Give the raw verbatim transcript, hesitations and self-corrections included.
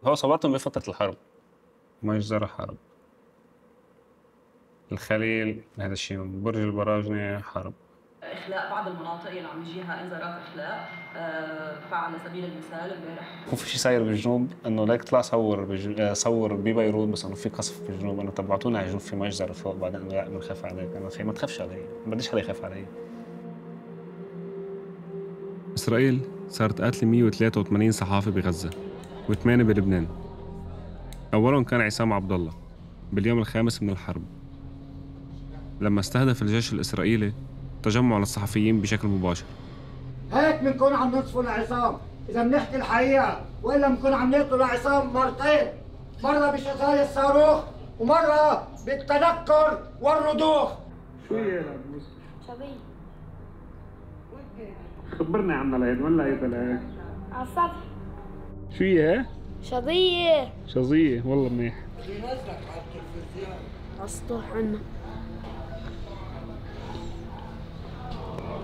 هو صابتهم بفترة الحرب، مجزرة حرب. الخليل هذا الشيء، برج البراجنة حرب. إخلاء بعض المناطق اللي عم يجيها إنذارات إخلاء، أه على سبيل المثال امبارح هو في شيء صاير بالجنوب انه ليك طلع صور بج... صور ببيروت بس انه في قصف بالجنوب، انه تبعتونا على الجنوب في مجزرة فوق، بعدين انه لا بنخاف عليك. انا خي ما تخافش علي، ما بديش حدا يخاف علي. إسرائيل صارت قاتلة مية وثلاثة وثمانين صحافي بغزة وثمانية بلبنان. أولهم كان عصام عبد الله باليوم الخامس من الحرب، لما استهدف الجيش الإسرائيلي تجمع للصحفيين بشكل مباشر. هيك بنكون عم ننصفوا لعصام إذا بنحكي الحقيقة، وإلا بنكون عم نقتل لعصام مرتين، مرة بشغال الصاروخ ومرة بالتنكر والرضوخ. شو هي يا لابوس؟ شظية. خبرني عنها لهيك، وين لقيتها لهيك؟ على السطح. شو هي؟ شظية. شظية، والله منيح. على السطح عنا.